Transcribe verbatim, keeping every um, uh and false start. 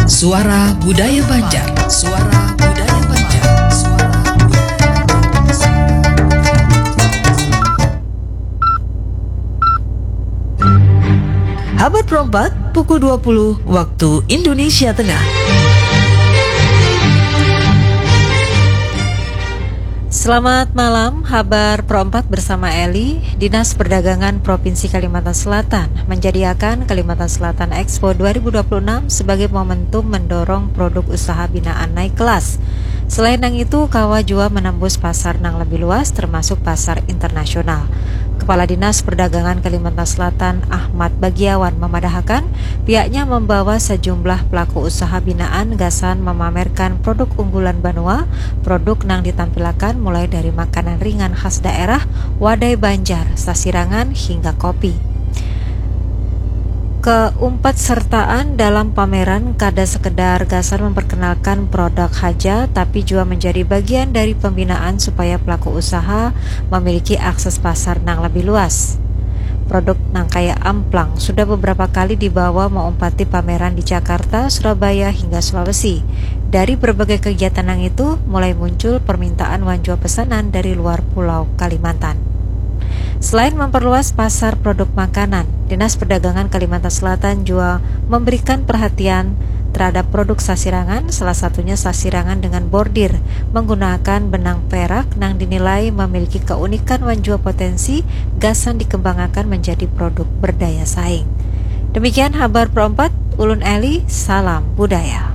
Suara Budaya Banjar. Suara Budaya Banjar. Suara Budaya Banjar. Habar Pro empat, pukul dua puluh waktu Indonesia Tengah. Selamat malam, Habar Pro empat bersama Eli. Dinas Perdagangan Provinsi Kalimantan Selatan menjadiakan Kalimantan Selatan Expo dua ribu dua puluh enam sebagai momentum mendorong produk usaha binaan naik kelas. Selain nang itu, kawa jua menembus pasar nang lebih luas, termasuk pasar internasional. Kepala Dinas Perdagangan Kalimantan Selatan, Ahmad Bagiawan, memadahakan pihaknya membawa sejumlah pelaku usaha binaan gasan memamerkan produk unggulan banua, produk nang ditampilakan mulai dari makanan ringan khas daerah, wadai Banjar, sasirangan, hingga kopi. Keempat sertaan dalam pameran kada sekedar gasan memperkenalkan produk haja, tapi jua menjadi bagian dari pembinaan supaya pelaku usaha memiliki akses pasar nang lebih luas. Produk nang kaya amplang sudah beberapa kali dibawa maumpati pameran di Jakarta, Surabaya, hingga Sulawesi. Dari berbagai kegiatan nang itu, mulai muncul permintaan wan jua pesanan dari luar Pulau Kalimantan. Selain memperluas pasar produk makanan, Dinas Perdagangan Kalimantan Selatan jua memberikan perhatian terhadap produk sasirangan, salah satunya sasirangan dengan bordir menggunakan benang perak nang dinilai memiliki keunikan wan jua potensi gasan dikembangakan menjadi produk berdaya saing. Demikian Habar Pro empat, ulun Eli, salam budaya.